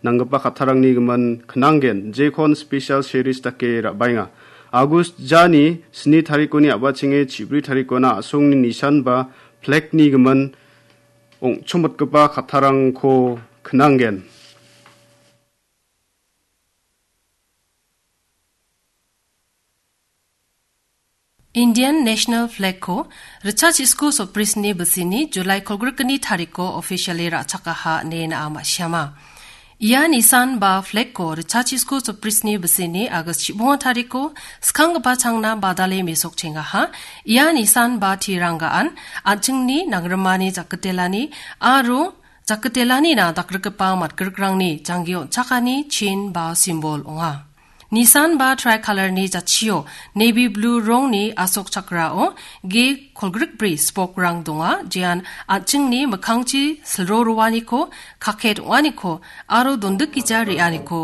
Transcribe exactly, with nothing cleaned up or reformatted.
nanggipa kattarangni gimin knanggen, jekon special series dake ra·baenga. August jani sni tarikoni a·bachenge chibri tarikona a·songni nisan ba flagni gimin ong·chomotgipa kattarangko knanggen. Indian National Flag-ko ritchachiko soprisni bisini July kolgrikni tariko officially ra·chakaha ine na·a ma·siama. Ia nisan ba flag-ko ritchachiko soprisni bisini August chibonga tariko skanggipa changna badale mesokchengaha. Ia nisan ba tiranggaan an·chingni nangrimani jakitelani aro jakitelanina dakgrikgipa matgrikrangni janggi on·chakani chin ba simbol ong·a. Nisan ba tricolor-ni jatchio navy blue rongni asok chakrao ge kolgrikbri spok-rang donga, jean an·chingni mikkangchi silro roaniko, kaket ong·aniko aro dondikgija re·aniko